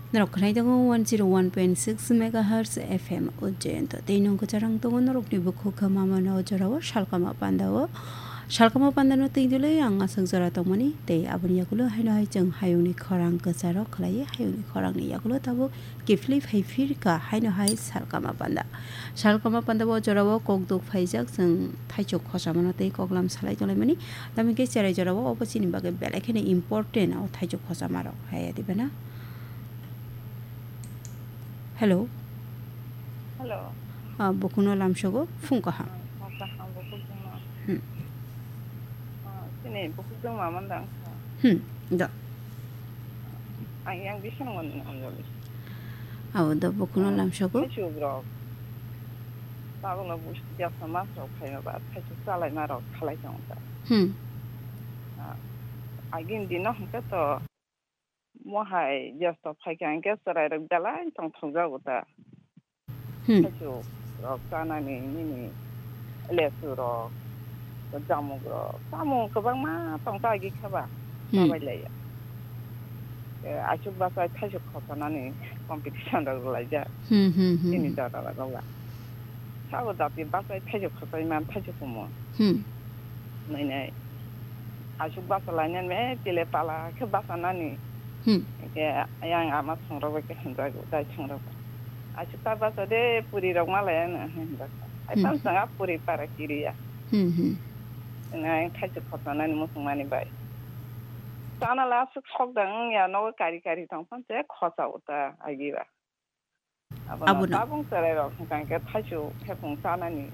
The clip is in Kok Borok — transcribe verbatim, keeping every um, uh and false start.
Norok khwnai tongo one zero one point six megahertz F M Ujjayanto. Tei nung kwcharang tongo norokni bukhuk kha mamano o jorao Salkama Pandao. Salkama Pandano twi dwlwi ang aswk jora tongmani. Tei aboni yakulo haino hai chwng hayungni khorang kwcharo khlaiwi hayungni khorangni yakulo tabuk kiphilwi phai phirkha haino hai Salkama Panda. Salka ma panda bo jorao kok duk phaijak, chwng thaichuk khosamano tei koklam salai tonglaimani. Tamokhe cherai jorao obo chini bagwi belai kheno important o thaichuk khosamarok, hai dibe na? Hello. Hello. Ah, bukhukno lamsogo phung kaham. Ah, phung kaham bukhuk jongma. Hmm. Ah, chini bukhuk jongma mandang. Hmm, do. Ang yang bising mon Anjali. Abo do bukhukno lamsogo. Thaichuk rok. Tabukno busti jasa mas rok phaima ba thaichuk chalaima rok khalai tongo ta. Hmm. Ah, agin dino hwnkhe to mohai jesto phaikha hwnkhe chwrai rok belai tongthok jago ta. Hmm. Thaichuk rok chanani nini lesu rok, jamuk rok, chamung kwbangma tong ta agi khe ba. Hmm. Chabai laiya. Eh, aswk bachai thaichuk khosanani competition rok rwlaijak. Hmm, hmm, hmm, chini hmm. Jora rok ba. Sabo jati bachai thaichuk khosai man thaichuk kumo. Hmm. Nai nai. Aswk basa lainani me tile pala khe basa nani. Hmm. Ke yang ama songrok bai khe hwnjago, dai songrok. Aswk ta basa de puri rok ma laiya no hwnjak. Ai hmm. Tam sanga puri para kiriya. Hmm, hmm. Ngai thaichuk khosanani musungmani bai. Chana la aswk sok dang ya nogo kari kari tong phan se khosa uta agiba. Abono. Abono tabung cherai rok hwnkha hwnkhe thaichuk hepung chanani.